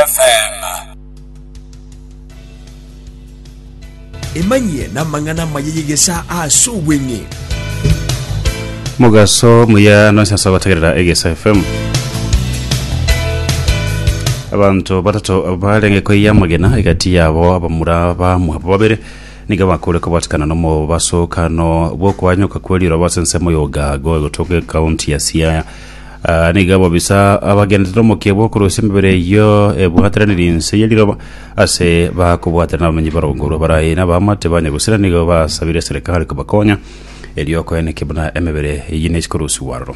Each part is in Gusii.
FM. Emanyie namang'ana amaya y'egesaa ase obweng'e. Mogaso muya nonsi ase ogotegerera Egesa FM. Abanto batato barenge koiya amagena egati yabo abamura bamwabo babere nigo bakure kobwatikana nomobasokano bw'okwanyoka kwe riroba ase ensemo ya Ogago egotoka ekaunti ya Siaya. Ah, nigo abobisa abagenderete omokia bw'okorusia emebere eyio ebwateraniri inse ye riroba ase bakobwaterana abamenyi barongorwa barayi na abaamate ba nyagusira nigo basabire eserekari kobakonya erio koenekia buna emebere eyio nechi korusigwa aroro.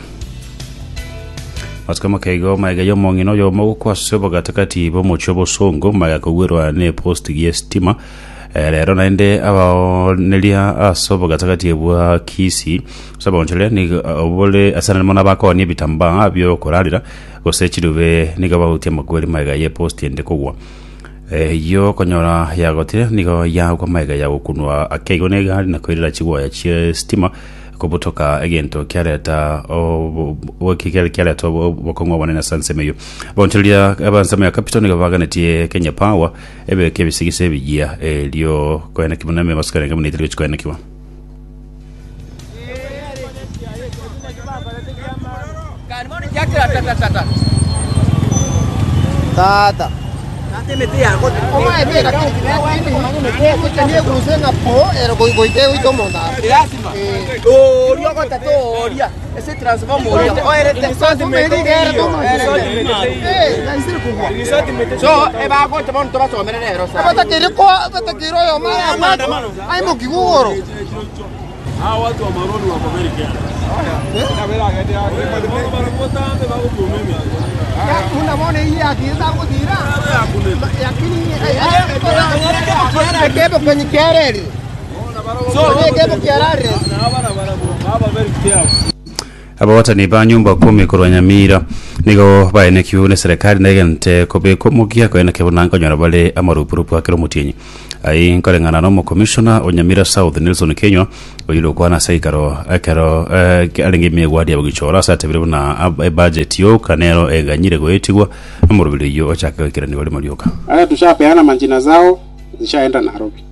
Matuko makeigo magega y'omong'ina oyomo gokwa ase obogatagati bw'omochie obosongo magega kogwerwa ne post y'esitima Eh, rero naende abaoneria ase obogatagati bwa Kisii ase oboonchoreria nigo obore ase naende mono abakoonia ebitambaa bi'okorarera gose chirube nigo bagotia amakweri magega y'eposti ende kogwa. Eyio okonyora yagotire nigo yagwa magega ya gokunwa ake igo negari na koirera chigwaya chi'esitima kobutoka egento kiareta obo- bo- kiareta obokong'u obonene ase ensemo eyio. Abaonchoreria ab'ensemo ya Capital nigo baganetie Kenya Power Ebeke ebisigisa ebiyia, erio koenekigwa buna emebasukani enge buna etari gochia koenekigwa. Ababwatani ba nyumba kumi korwa Nyamira nigo baenekiwe neserekari negente kobekwa omokia koenekia buna nkonyora bare amarupurupu a kera omotienyi. Ayio nkoreng'ana na omokomishona o Nyamira South Nelson Kenywa oyio okwana ase eikaro ekero eh, arenge ime egwadi ya Bogichora ase atebire buna ab- ebudget yoka nero eganyire goetigwa omoroberi oyio ochake goikeranigwa rimo rioka. Hata tushapeana majina zao zishaenda Nairobi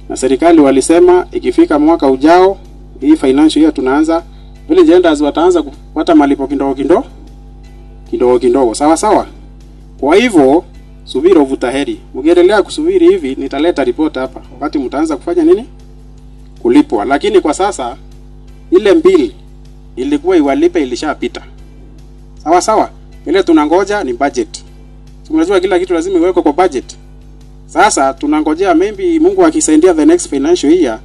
na serikali walisema ikifika mwaka ujao hii financial year tunaanza Village elders wataanza kupata malipo kidogo kidogo kidogo kidogo, sawa sawa. Kwa hivyo subira huvuta heri. Mkiendelea kusubiri hivi, nitaleta report hapa wakati mtaanza kufanya nini, kulipwa. Lakini kwa sasa ile mbili ilikuwa iwalipe ilishapita, sawa sawa. Ile tunangoja ni budget. Tunajua kila kitu lazima iwekwe kwa budget. Sasa tunangojea maybe Mungu akisaidia the next financial year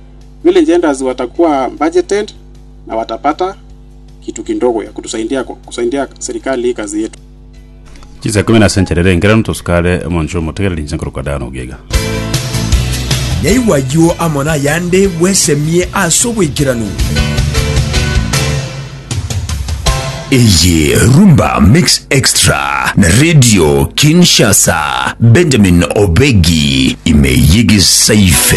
village elders watakuwa budgeted na watapata kitu kidogo ya kutusaidia kusaidia serikali hii kazi yetu. Chinsa ikomi na ase enchera ere enkeranu tosukare omonche omotegereri inche nkorokwa Dan Ogega. Yaigwa ayio amo nayande bwesemie ase oboikeranu. Eye Rumba Mix Extra na Radio Kinshasa. Benjamin Obegi ime y'Egesaife.